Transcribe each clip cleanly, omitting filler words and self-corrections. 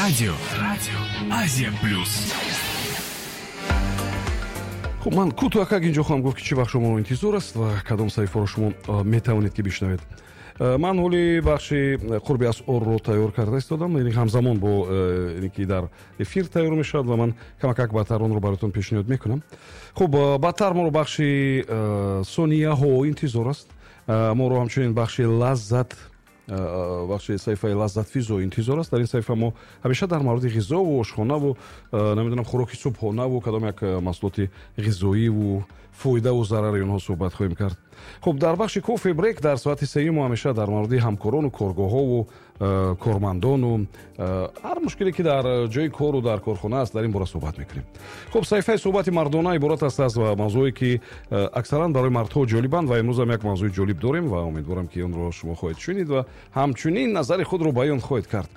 Радио Азия Плюс. Хуб, ман кӯтоҳакак инҷо хоҳам гуфт, ки чӣ бахш шуморо интизор аст ва кадом саҳифаро шумо метавонед, ки бишнавед. Ман ҳоли бахши қурби асъорро тайёр карда истодам, яъне ҳамзамон бо ине ки дар эфир тайёр мешавад, ва ман камакак баъдтар онро бароятон пешниҳод мекунам. Хуб, баъдтар моро бахши сонияҳо интизор аст. Моро ҳамчунин бахши лаззат, бахши саҳифаи лаззатфизо интизор аст. Дар ин саҳифа мо ҳамеша дар мавриди ғизову ошхонаву, намедонам, хӯроки субҳонаву кадом як маҳсулоти ғизоиву фоидаву зарари онҳо суҳбат хоҳем кард. Хуб, дар бахши кофе брейк дар соати сеюм мо ҳамеша дар мавриди ҳамкорону коргоҳову кормандону ҳар мушкиле, ки дар ҷои кору дар корхона аст, дар ин бора суҳбат мекунем. Хуб, саҳифаи суҳбати мардона иборат аст аз мавзӯе, ки аксаран барои мардҳо ҷолибанд, ва имрӯзам як мавзӯи ҷолиб дорем ва умедворам, ки онро шумо хоҳед шунид ва ҳамчунин назари худро баён хоҳед кард.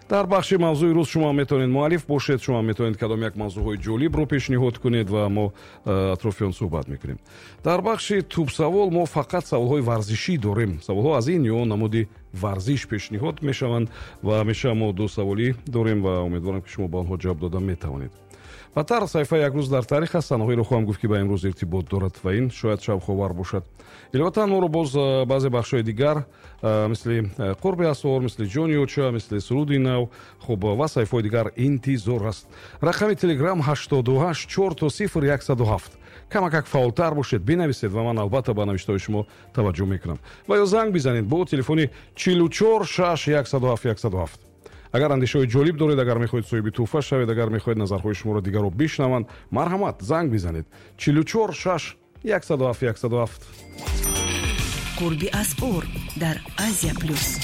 Дар бахши мавзӯи рӯз шумо метавонед муаллиф бошед, шумо метавонед кадом як мавзӯъҳои ҷолибро пешниҳод кунед ва мо атрофи он суҳбат мекунем. Дар бахши тӯбсавол мо фақат саволҳои варзишӣ дорем. Саволҳо аз ин ё он намуди варзиш пешниҳод мешаванд ва ҳамеша мо ду саволӣ дорем ва умедворам, ки шумо ба онҳо ҷавоб дода метавонед. Баъдтар саҳифаи як рӯз дар таърих аст. Санаҳоеро хоҳам гуфт, ки ба имрӯз иртибот дорад ва ин шояд шавқовар бошад. Иловатан моро боз баъзе бахшҳои дигар, мисли қурби асъор, мисли ҷони оча, мисли суруди нав, хуб, ва саҳифаҳои дигар интизор аст. Рақами телеграм 88 000 107. Камакак фаъолтар бошед, бинависед ва ман албатта ба навиштаҳои шумо таваҷҷӯҳ мекунам. Ва ё занг бизанед бо телефони 44 6 107 107. Агар андешаҳои ҷолиб доред, агар мехоҳед соҳиби тӯҳфа шавед, агар мехоҳед назарҳои шуморо дигарро бишнаванд, марҳамат, занг бизанед: 44 6 107 107. Қурби асъор дар Азия Плюс.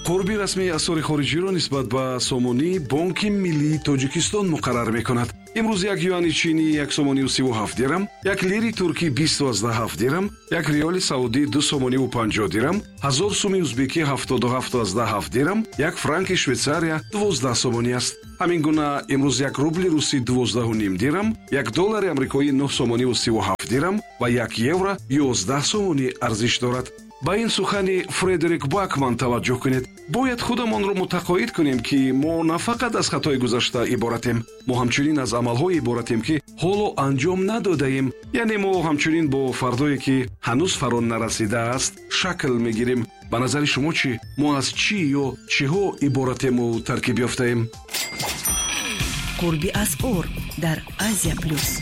Қурби расмии асъори хориҷиро нисбат ба сомонӣ Бонки миллии Тоҷикистон муқаррар мекунад. Имрӯз як юани чинӣ 1 сомонию 37 дирам, як лири туркӣ 20,7 дирам, як риёли саудӣ 2 сомониву 50 дирам, 1000 суми узбекӣ 77,7 дирам, як франки Швейтсария 12 сомонӣ аст. Ҳамин гуна имрӯз як рубли русӣ 12,5 дирам, як доллари амрикоӣ 9 сомониву 37 дирам ва як евро 11 сомонӣ арзиш дорад. Ба ин сухани Фредерик Бакман таваҷҷӯҳ кунед: «Бояд худамонро мутақоид кунем, ки мо на фақат аз хатои гузашта иборатем, мо ҳамчунин аз амалҳое иборатем, ки ҳоло анҷом надодаем. Яъне мо ҳамчунин бо фардое, ки ҳанӯз фаро нарасидааст, шакл мегирем». Ба назари шумо чӣ? Мо аз чӣ ё чиҳо иборатему таркиб ёфтаем? Қурби асъор дар Азия Плюс.